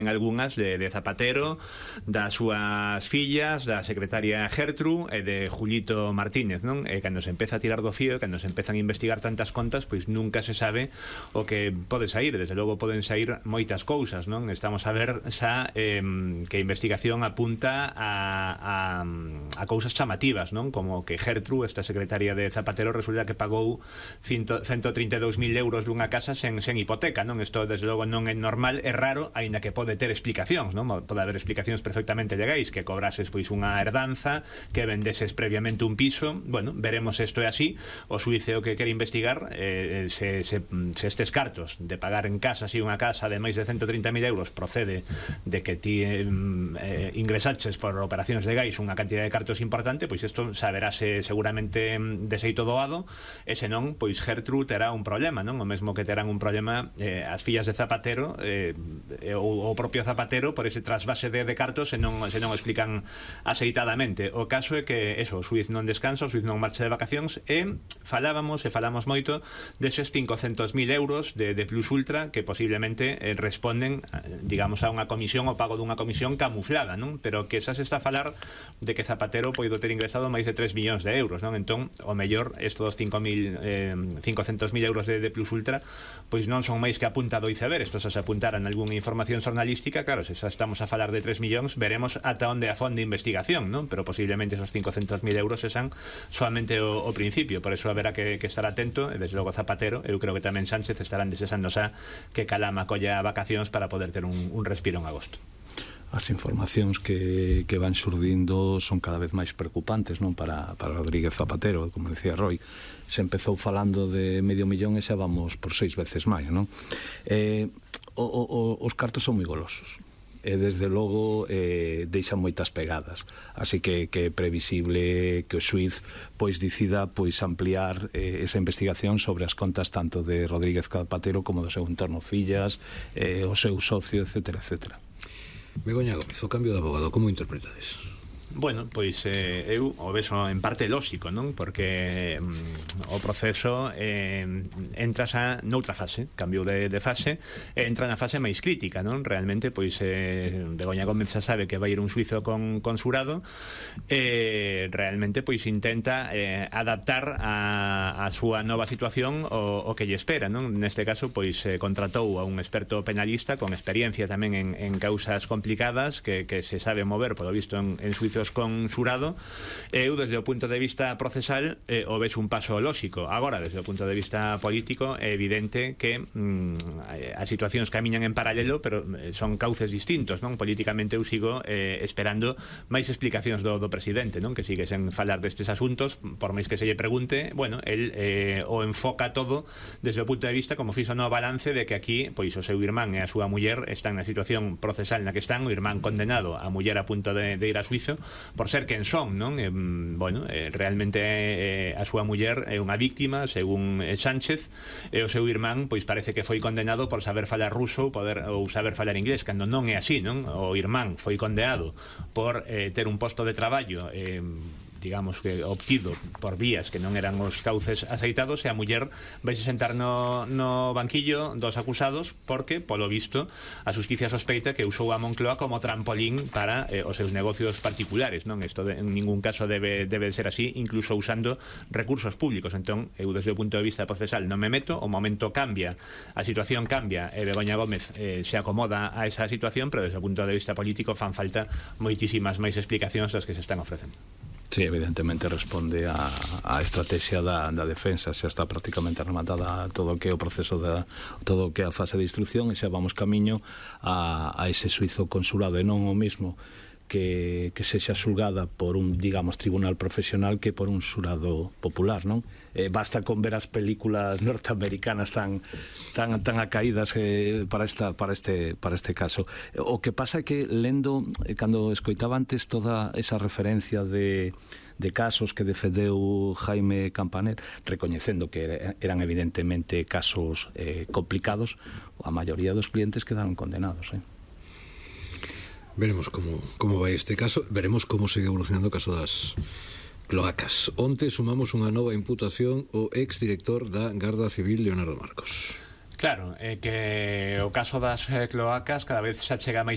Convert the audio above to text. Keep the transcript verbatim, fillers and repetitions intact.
en algunhas de, de Zapatero, das súas fillas, da secretaria Gertru e de Julito Martínez, non? E cando se empeza a tirar do fío, cando se empezan a investigar tantas contas, pois nunca se sabe o que pode sair. Desde logo poden sair moitas cousas, non? Estamos a ver xa eh, que a investigación apunta a, a, a cousas chamativas, non? Como que Gertru, esta secretaria de Zapatero, resulta que pagou ciento trinta e dous mil euros dunha casa sen, sen hipoteca, non? Isto desde logo non é normal, é raro, aínda que pode de ter explicacións, non? Pode haber explicacións perfectamente legais, que cobrases pois unha herdanza, que vendeses previamente un piso. Bueno, veremos se isto é así. O xuíce o que quere investigar eh, se, se, se estes cartos de pagar en casa, si unha casa de máis de ciento trinta mil euros procede de que ti eh, ingresaches por operacións legais unha cantidad de cartos importante, pois isto saberase seguramente de xeito doado, e senón, pois Gertru terá un problema, non? O mesmo que terán un problema eh, as fillas de Zapatero eh, ou o propio Zapatero por ese trasvase de, de cartos se non, se non explican aceitadamente. O caso é que eso, o xuiz non descansa, o xuiz non marcha de vacacións, e falábamos, e falamos moito deses cincocentos mil euros de, de Plus Ultra que posiblemente eh, responden, digamos, a unha comisión, o pago dunha comisión camuflada, non? Pero que xa se está a falar de que Zapatero poido ter ingresado máis de tres millóns de euros, non? Entón, o mellor, estos cinco mil, eh, cincocentos mil euros de, de Plus Ultra, pois non son máis que a punta do iceberg. Estos se apuntaran algunha información xornalística. Claro, se xa estamos a falar de tres millóns, veremos ata onde a fonde de investigación, non? Pero posiblemente esos cincocentos mil euros sean solamente o, o principio. Por eso haberá que, que estar atento, e desde logo Zapatero, eu creo que tamén Sánchez estarán desexando xa que Calama colla vacacións para poder ter un, un respiro en agosto. As informacións que, que van xurdindo son cada vez máis preocupantes, non? Para, para Rodríguez Zapatero, como decía Roy, se empezou falando de medio millón e xa vamos por seis veces máis, non? Eh, o, o, os cartos son moi golosos, e desde logo eh, deixan moitas pegadas, así que, que é previsible que o xuiz pois decida pois ampliar eh, esa investigación sobre as contas tanto de Rodríguez Zapatero como do seu entorno, fillas, eh, o seu socio, etcétera, etcétera. Begoña Gómez, o cambio de abogado, como interpretades? Bueno, pois eh, eu o vexo en parte lóxico, non? Porque mm, o proceso eh, entra xa noutra fase, cambio de, de fase, e entra na fase máis crítica, non? Realmente, pois eh, Begoña Gómez xa sabe que vai ir un suizo con, con xurado, e eh, realmente pois intenta eh, adaptar a, a súa nova situación o, o que lle espera, non? Neste caso, pois eh, contratou a un experto penalista con experiencia tamén en, en causas complicadas, que, que se sabe mover, polo visto, en, en suizos con xurado. Eu, desde o punto de vista procesal, eh, o ves un paso lóxico. Agora, desde o punto de vista político, é evidente que mm, as situacións camiñan en paralelo, pero son cauces distintos, non? Políticamente eu sigo eh, esperando máis explicacións do, do presidente, non? Que sigue sen falar destes asuntos, por máis que se lle pregunte, bueno, el eh, o enfoca todo desde o punto de vista, como fixo no balance, de que aquí, pois, o seu irmán e a súa muller están na situación procesal na que están, o irmán condenado, a muller a punto de, de ir a suizo por ser quen son, non? Eh, bueno, eh, realmente eh, a súa muller é unha víctima, según eh, Sánchez, e o seu irmán, pois parece que foi condenado por saber falar ruso poder, ou saber falar inglés, cando non é así, non? O irmán foi condenado por eh, ter un posto de traballo eh, digamos que obtido por vías que non eran os cauces aceitados, e a muller vai se sentar no, no banquillo dos acusados porque, polo visto, a xusticia sospeita que usou a Moncloa como trampolín para eh, os seus negocios particulares, non? Isto de, en ningún caso debe, debe ser así, incluso usando recursos públicos. Entón, eu desde o punto de vista procesal non me meto, o momento cambia, a situación cambia, e Begoña Gómez eh, se acomoda a esa situación, pero desde o punto de vista político fan falta moitísimas máis explicacións das que se están ofrecendo. Sí, evidentemente responde a, a estrategia da, da defensa. Xa está prácticamente rematada todo o que é o proceso da, todo o que é a fase de instrucción, e xa vamos camiño a, a ese suizo consulado, e non o mismo que, que sexa xulgada por un, digamos, tribunal profesional que por un xurado popular, non? Eh, basta con ver as películas norteamericanas tan tan tan acaídas eh, para esta para este para este caso. O que pasa é que lendo, eh, cando escoitaba antes toda esa referencia de de casos que defendeu Jaime Campaner, recoñecendo que eran evidentemente casos eh, complicados, a maioría dos clientes quedaron condenados, eh. Veremos como, como vai este caso, veremos como segue evolucionando o caso das cloacas. Onte sumamos unha nova imputación ao exdirector da Garda Civil, Leonardo Marcos. Claro, é que o caso das eh, cloacas cada vez se chega máis